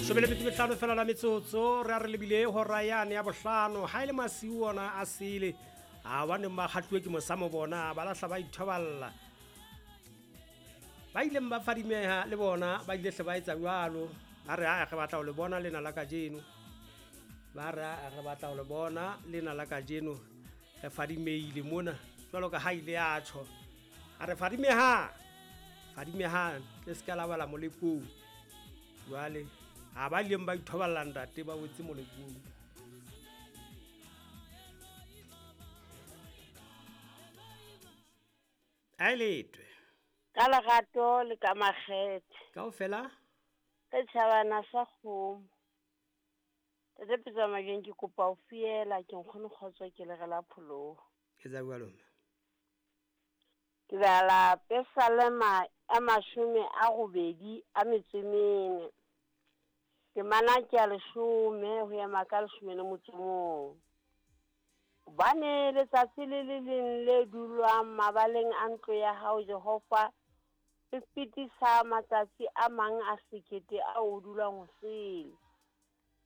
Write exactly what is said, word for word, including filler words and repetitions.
Leshome le metso e mehlano fela la metsotso re a re lebile hora yane ya bohlano ha e le masiu ona a sele a ba neng ba kgahluwe ke mosamo bona ba lahla ba ithoballa ba ileng ba fadimeha le bona ba ile hle ba etsa jwalo ba re a re batla ho le bona lena la kajeno ba re a re batla ho le bona lena la kajeno re fadimeile mona jwalo ka ha ile ya tjho a re fadimeha fadimeha le se ka la bala molekong jwale ha ba ileng ba ithoballa ntate ba wetse molekong. A letwe ka lerato le ka makgethe kaofela re tjhabana sa kgomo. Tate Pitso Majweng, ke kopa ho fiela ke nkgono kgotso ke le re la pholoho. Etsa jwalo mme. Ke bala Pesalema a mashome a robedi a metso e mene. Temana ke ya leshome ho ema ka leshome le motso o mong. Hobane letsatsi le le leng le dulwang mabaleng a ntlo ya hao Jehova le fetisa matsatsi a mang a sekete ao o dulang ho sele.